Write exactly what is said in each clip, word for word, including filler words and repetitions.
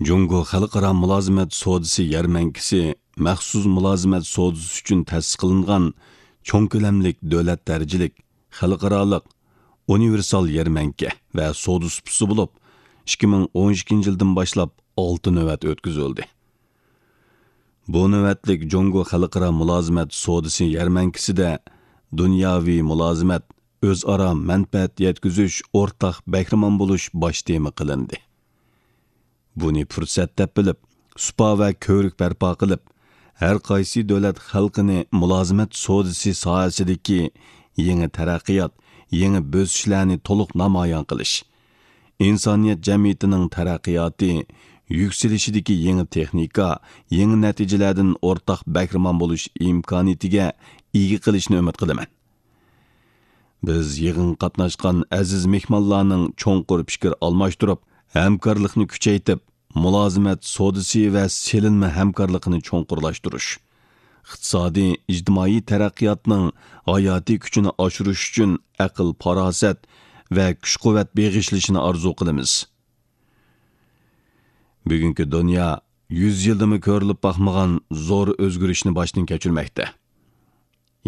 جۇڭگو خەلقئارا مۇلازىمەت سودىسى يەرمەنكىسى مەخسۇس مۇلازىمەت سودىسى ئۈچۈن تەسىس قىلىنغان چوڭ كۆلەملىك دۆلەت دەرىجىلىك خەلقئارالىق ئۇنىۋېرسال يەرمەنكە ۋە سودا سۇپىسى بولۇپ، ئىككى مىڭ ئون ئىككىنچى يىلدىن باشلاپ ئالتە نۆۋەت ئۆتكۈزۈلدى. بۇ نۆۋەتلىك جۇڭگو خەلقئارا مۇلازىمەت سودىسى يەرمەنكىسىدە دۇنياۋى مۇلازىمەت، ئۆزئارا مەنپەئەت يەتكۈزۈش، ئورتاق بەھرىمەن بولۇش باش تېما قىلىندى. بۇنى پۇرسەت دەپ بىلىپ، سۇپا ۋە كۆۋرۈك بەرپا قىلىپ، ھەر قايسى دۆلەت خەلقىنى مۇلازىمەت سودىسى ساھەسىدىكى يېڭى تەرەققىيات، يېڭى بۆسۈشلەرنى تولۇق نامايان قىلىش، ئىنسانىيەت جەمئىيىتىنىڭ تەرەققىياتى، يۈكسىلىشىدىكى يېڭى تېخنىكا، يېڭى نەتىجىلەردىن ئورتاق بەھرىمەن بولۇش ئىمكانىيىتىگە ئىگە قىلىشنى ئۈمىد قىلىمەن. بىز يىغىنغا قاتناشقان ئەزىز مېھمانلارنىڭ چوڭقۇر پىكىر ئالماشتۇرۇپ، ھەمكارلىقنى كۈچەيتىپ، مۇلازىمەت سودىسى ۋە سېلىنما ھەمكارلىقىنى چوڭقۇرلاشتۇرۇش، ئىقتىسادىي، ئىجتىمائىي تەرەققىياتنىڭ ھاياتىي كۈچىنى ئاشۇرۇش ئۈچۈن ئەقىل-پاراسەت ۋە كۈچ-قۇۋۋەت بېغىشلىشىنى ئارزۇ قىلىمىز. بۈگۈنكى دۇنيا يۈز يىلدىمۇ كۆرۈلۈپ باقمىغان زور ئۆزگىرىشنى باشتىن كەچۈرمەكتە.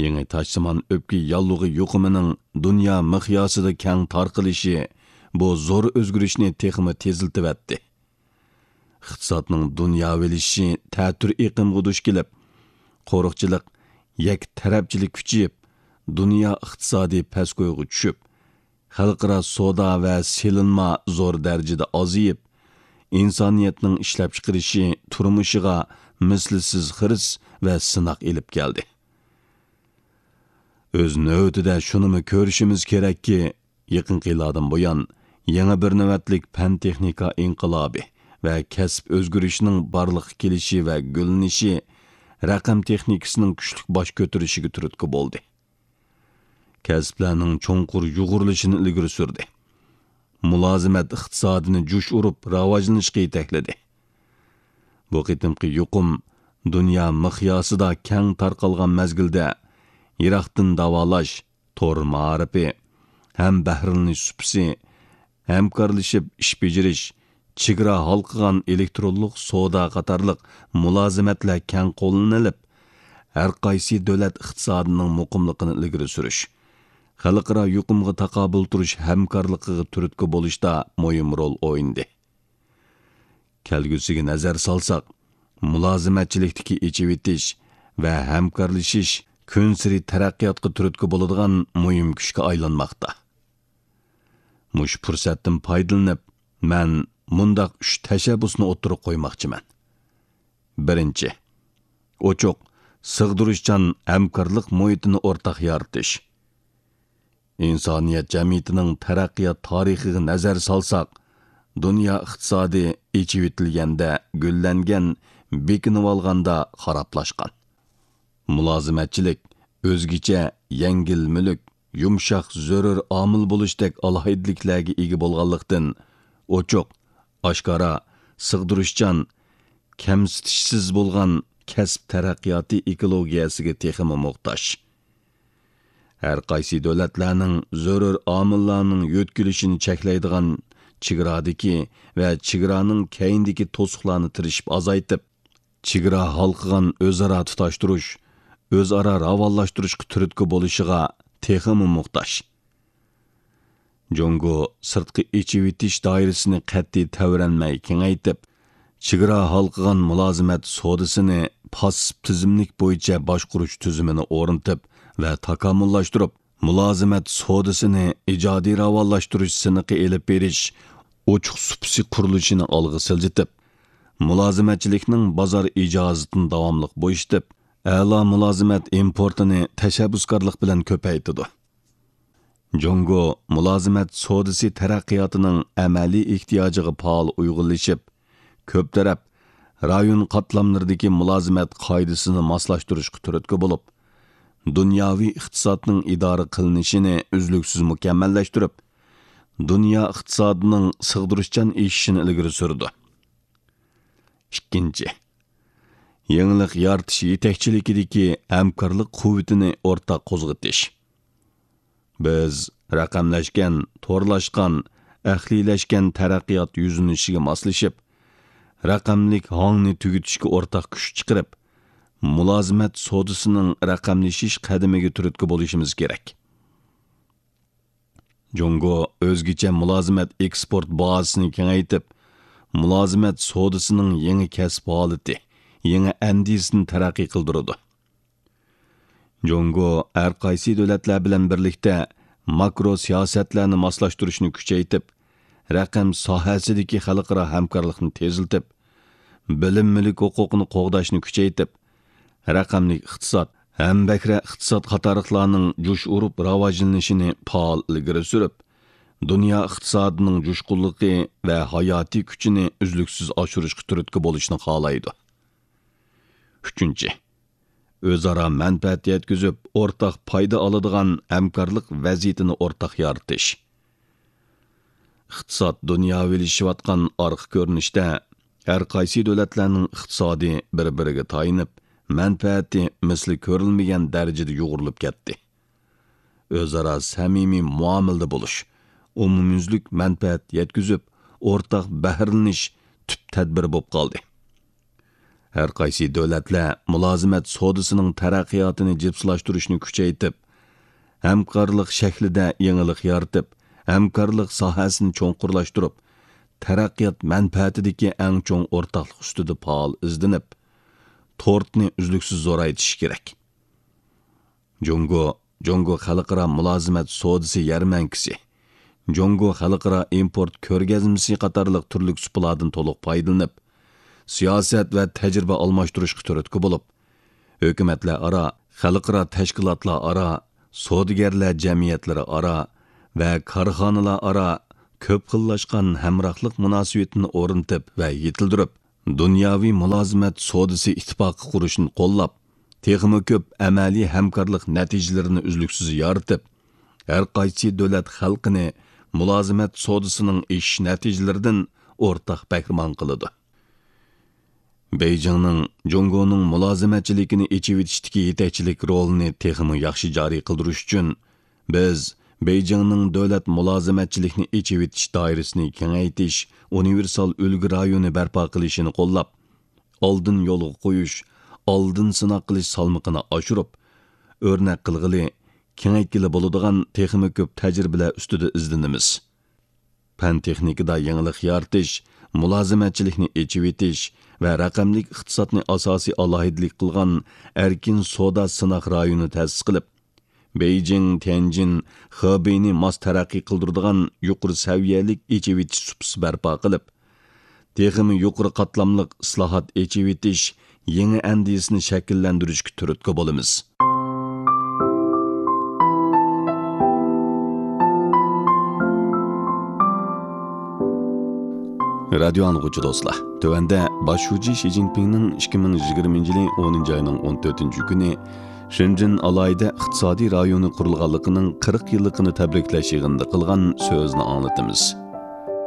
يېڭى تاشسىمان ئۆپكە ياللۇغى يۇقۇمىنىڭ دۇنيا مىقياسىدا كەڭ تارقىلىشى بۇ زور ئۆزگىرىشنى تېخىمۇ تېزلىتىۋەتتى. ئىقتىسادنىڭ دۇنياۋىلىشىشى تەتۈر ئېقىمغا دۇچ كېلىپ، قورۇقچىلىق، يەككە تەرەپچىلىك كۈچىيىپ، دۇنيا ئىقتىسادى پەسكويغا چۈشۈپ، خەلقئارا سودا ۋە سېلىنما زور دەرىجىدە ئازىيىپ، ئىنسانىيەتنىڭ ئىشلەپچىقىرىشى، تۇرمۇشىغا مىسلىسىز خىرىس ۋە سىناق ئېلىپ كەلدى. ئۆز نۆۋىتىدە شۇنىمۇ كۆرۈشىمىز كېرەككى، يېقىنقى يىللاردىن بۇيان، يېڭى بىر نۆۋەتلىك پەن-تېخنىكا ئىنقىلابى ۋە كەسىپ ئۆزگىرىشىنىڭ بارلىققا كېلىشى ۋە گۈللىنىشى رەقەم تېخنىكىسىنىڭ كۈچلۈك باش كۆتۈرۈشىگە تۈرتكە بولدى. كەسىپلەرنىڭ چوڭقۇر يۇغۇرۇلۇشىنى ئىلگىرى سۈردى. مۇلازىمەت ئىقتىسادىنى جۇش ئۇرۇپ راۋاجلىنىشقا يېتەكلىدى. بۇ قېتىمقى يۇقۇم دۇنيا مىقياسىدا كەڭ تارقالغان مەزگىلدە، يىراقتىن داۋالاش، تور مائارىپى، ھەم بەھرىلىنىش سۇپىسى، ھەمكارلىشىپ ئىش بېجىرىش، چېگرا ھالقىغان ئېلېكترونلۇق سودا قاتارلىق مۇلازىمەتلەر كەڭ قوللىنىلىپ، ھەر قايسى دۆلەت ئىقتىسادىنىڭ مۇقىملىقىنى ئىلگىرى سۈرۈش، خەلقئارا يۇقۇمغا تاقابىل تۇرۇش ھەمكارلىقىغا تۈرتكە بولۇشتا مۇھىم رول ئوينىدى. كەلگۈسىگە نەزەر سالساق، مۇلازىمەتچىلىكتىكى ئېچىۋېتىش ۋە ھەمكارلىشىش كۈنسېرى تەرەققىياتقا تۈرتكە بولىدىغان مۇھىم كۈچكە ئايلانماقتا. مۇشۇ پۇرسەتتىن پايدىلىنىپ، مەن مۇنداق ئۈچ تەشەببۇسنى ئوتتۇرىغا قويماقچىمەن. بىرىنچى، ئوچۇق، سىغدۇرۇشچان ھەمكارلىق مۇھىتىنى ئورتاق يارىتىش. ئىنسانىيەت جەمئىيىتىنىڭ تەرەققىيات تارىخىغا نەزەر سالساق، دۇنيا ئىقتىسادى ئېچىۋېتىلگەندە گۈللەنگەن، بېكىنىۋالغاندا خارابلاشقان. مۇلازىمەتچىلىك ئۆزگىچە يەڭگىل مۈلۈك، يۇمشاق زۆرۈر ئامىل بولۇشتەك ئالاھىدىلىكلەرگە ئىگە بولغانلىقتىن، ئوچۇق، ئاشكارا، سىغدۇرۇشچان، كەمسىتىشسىز بولغان كەسىپ تەرەققىياتى ئېكولوگىيەسىگە تېخىمۇ موھتاج. ھەر قايسى دۆلەتلەرنىڭ زۆرۈر ئامىللارنىڭ يۆتكىلىشىنى چەكلەيدىغان چېگرادىكى ۋە چېگرانىڭ كەينىدىكى توسۇقلارنى تىرىشىپ ئازايتىپ، چېگرا ھالقىغان ئۆزئارا تۇتاشتۇرۇش، ئۆزئارا راۋانلاشتۇرۇشقا تۈرتكە بولۇشىغا تېخىمۇ موھتاج. جۇڭگو سىرتقى ئېچىۋېتىش دائىرىسىنى قەتئىي تەۋرەنمەي كېڭەيتىپ، چېگرا ھالقىغان مۇلازىمەت سودىسىنى پاسسىپ تىزىملىك بويىچە باشقۇرۇش تۈزۈمىنى ئورنىتىپ ۋە تاكامۇللاشتۇرۇپ، مۇلازىمەت سودىسىنى ئىجادىي راۋانلاشتۇرۇش سىنىقى ئېلىپ بېرىش ئوچۇق سۇپىسى قۇرۇلۇشىنى ئالغا سىلجىتىپ، مۇلازىمەتچىلىكنىڭ بازار ئىجازىتىنى داۋاملىق بويىتىپ، ئەلا مۇلازىمەت ئىمپورتىنى تەشەببۇسكارلىق بىلەن كۆپەيتىدۇ. جۇڭگو مۇلازىمەت سودىسى تەرەققىياتىنىڭ ئەمەلىي ئېھتىياجىغا پائال ئۇيغۇنلىشىپ، كۆپ تەرەپ، رايون قاتلاملىرىدىكى مۇلازىمەت قائىدىسىنى ماسلاشتۇرۇشقا تۈرتكە بولۇپ، دۇنياۋى ئىقتىسادنىڭ ئىدارە قىلىنىشىنى ئۈزلۈكسىز مۇكەممەللەشتۈرۈپ، دۇنيا ئىقتىسادىنىڭ سىغدۇرۇشچان ئېشىشىنى ئىلگىرى سۈرىدۇ. ئىككىنچى، يېڭىلىق يارىتىش يېتەكچىلىكىدىكى ھەمكارلىق قۇۋۋىتىنى ئورتاق قوزغىتىش. بىز رەقەملەشكەن، تورلاشقان، ئەقلىيلەشكەن تەرەققىيات يۈزلىنىشىگە ماسلىشىپ، رەقەملىك ھاڭنى تۈگىتىشكە ئورتاق كۈچ چىقىرىپ، مۇلازىمەت سودىسىنىڭ رەقەملىشىش قەدىمىگە تۈرتكە بولۇشىمىز كېرەك. جۇڭگو ئۆزگىچە مۇلازىمەت ئېكسپورت بازىسىنى كېڭەيتىپ، مۇلازىمەت سودىسىنىڭ يېڭى كەسىپ ھالىتى، يېڭى ئەندىزىسىنى تەرەققىي قىلدۇرىدۇ. جۇڭگو ھەر قايسى دۆلەتلەر بىلەن بىرلىكتە ماكرو سىياسەتلەرنى ماسلاشتۇرۇشنى كۈچەيتىپ، رەقەم ساھەسىدىكى خەلقئارا ھەمكارلىقنى تېزلىتىپ، بىلىم مۈلۈك ھوقۇقىنى قوغداشنى كۈچەيتىپ، رەقەملىك ئىقتىساد، ھەمبەھرە ئىقتىساد قاتارلىقلارنىڭ جۇش ئۇرۇپ راۋاجلىنىشىنى پائال ئىلگىرى سۈرۈپ، دۇنيا ئىقتىسادىنىڭ جۇشقۇنلۇقى ۋە ھاياتىي كۈچىنى ئۈزلۈكسىز ئاشۇرۇشقا تۈرتكە بولۇشنى خالايدۇ. ئۈچىنچى، ئۆزئارا مەنپەئەت يەتكۈزۈپ، ئورتاق پايدا ئالىدىغان ھەمكارلىق ۋەزىيىتىنى ئورتاق يارىتىش. ئىقتىساد دۇنياۋىلىشىۋاتقان ئارقا كۆرۈنۈشتە، ھەر قايسى دۆلەتلەرنىڭ ئىقتىسادى بىر-بىرىگە تايىنىپ، مەنپەئەتى مىسلى كۆرۈلمىگەن دەرىجىدە يۇغۇرۇلۇپ كەتتى. ئۆزئارا سەمىمىي مۇئامىلىدە بولۇش، ئومۇميۈزلۈك مەنپەئەت يەتكۈزۈپ، ئورتاق بەھرىلىنىش تۈپ تەدبىرى بولۇپ قالدى. ھەر قايسى دۆلەتلەر مۇلازىمەت سودىسىنىڭ تەرەققىياتىنى جىپسىلاشتۇرۇشنى كۈچەيتىپ، ھەمكارلىق شەكلىدە يېڭىلىق يارىتىپ، ھەمكارلىق ساھەسىنى چوڭقۇرلاشتۇرۇپ، تەرەققىيات مەنپەئەتىدىكى ئەڭ چوڭ ئورتاقلىق ئۈستىدە پائال ئىزدىنىپ، تورتنى ئۈزلۈكسىز زورايتىشى كېرەك. جۇڭگو، جۇڭگو خەلقئارا مۇلازىمەت سودىسى يەرمەنكىسى، جۇڭگو خەلقئارا ئىمپورت كۆرگەزمىسى قاتارلىق تۈرلۈك سۇپىلاردىن تولۇق پايدىلىنىپ، سىياسەت ۋە تەجرىبە ئالماشتۇرۇشقا تۈرتكە بولۇپ، ھۆكۈمەتلەر ئارا، خەلقئارا تەشكىلاتلار ئارا، سودىگەرلەر جەمئىيەتلىرى ئارا ۋە كارخانىلار ئارا كۆپ خىللاشقان ھەمراھلىق مۇناسىۋىتىنى ئورنىتىپ ۋە يېتىلدۈرۈپ، دۇنياۋى مۇلازىمەت سودىسى ئىتتىپاقى قۇرۇشنى قوللاپ، تېخىمۇ كۆپ ئەمەلىي ھەمكارلىق نەتىجىلىرىنى ئۈزلۈكسىز يارىتىپ، ھەر قايسى دۆلەت خەلقىنى مۇلازىمەت سودىسىنىڭ ئېشىش نەتىجىلىرىدىن ئورتاق بەھرىمەن قىلىدۇ. بېيجىڭنىڭ جۇڭگونىڭ مۇلازىمەتچىلىكىنى ئېچىۋېتىشتىكى يېتەكچىلىك رولىنى تېخىمۇ ياخشى جارى قىلدۇرۇش ئۈچۈن، بىز بېيجىڭنىڭ دۆلەت مۇلازىمەتچىلىكنى ئېچىۋېتىش دائىرىسىنى كېڭەيتىش، ئۇنىۋېرسال ئۈلگە رايونى بەرپا قىلىشىنى قوللاپ، ئالدىن يولغا قويۇش، ئالدىن سىناق قىلىش سالمىقىنى ئاشۇرۇپ، ئۆرنەك قىلغىلى، كېڭەيتكىلى بولىدىغان تېخىمۇ كۆپ تەجرىبىلەر ئۈستىدە ئىزدىنىمىز. پەن-تېخنىكىدا يېڭىلىق يارىتىش، مۇلازىمەتچىلىكنى ئېچىۋېتىش ۋە رەقەملىك ئىقتىسادنى ئاساسىي ئالاھىدىلىك قىلغان ئەركىن سودا سىناق رايونى تەسىس قىلىپ، بېيجىڭ، تيەنجىن، خېبېينى ماس تەرەققىي قىلدۇرىدىغان يۇقىرى سەۋىيەلىك ئېچىۋېتىش سۇپىسى بەرپا قىلىپ، تېخىمۇ يۇقىرى قاتلاملىق ئىسلاھات، ئېچىۋېتىش يېڭى ئەندىزىسىنى شەكىللەندۈرۈشكە تۈرتكە بولىمىز. رادىيو ئاڭلىغۇچى دوستلار، تۆۋەندە باش شۇجى شى جىنپىڭنىڭ ئىككى مىڭ يىگىرمىنچى يىلى ئونىنچى ئاينىڭ ئون تۆتىنچى كۈنى شېنجېن ئالاھىدە ئىقتىسادىي رايونى قۇرۇلغانلىقىنىڭ قىرىق يىللىقىنى تەبرىكلەش يىغىنىدا قىلغان سۆزىنى ئاڭلىتىمىز.